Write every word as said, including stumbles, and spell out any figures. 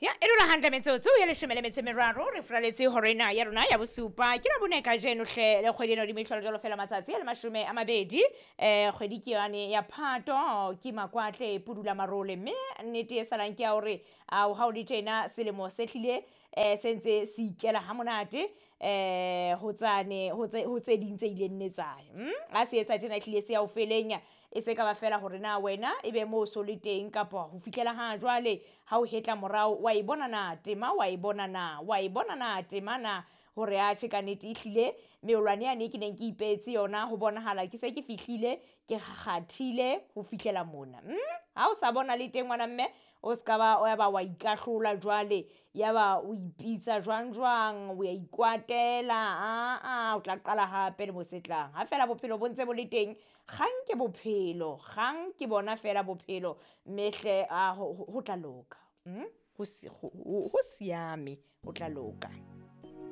Ya e dula hantle metsotso ya leshome le metso e meraro re furaletse horena ya rona ya bosupa. Ke la bone kajeno hle, le kgwedi ena hodimo e hlola jwalo fela matsatsi a le mashome a mabedi. um Kgwedi ke yane ya Phato, ke makwatle pudula marole, mme nnete e salang ke ya hore ao ha o le tjena selemo se hlile um se ntse se ikela ha monate um ho tsane ho tse ho tse ding tse ileng nne tsaya. Ha se etsa tjena ehlile se ya ho feleng, e se ka ba fela hore na wena e be moo so le teng kapa ho fihlela ha jwale ha o hetla morao wa e bona na tema, wa e bona na, wa e bona na tema na, hore atjhe ka nnete ehlile meolwane yane ke neng ke ipehetse yona ho bonahala ke se ke fihlile ke kgathile ho fihlela mona. Ha o sa bona le teng ngwana mme, o ska ba wa ba wa ikahlola jwale, ya ba o ipitsa jwang jwang, o ya ikwatela, aa o tla qala hape le mo se tlang. Ha fela bophelo bo ntse bo le teng, kgang ke bophelo, kgang ke bona fela bophelo, mme hle a ho tla loka. Ho siame, ho tla loka.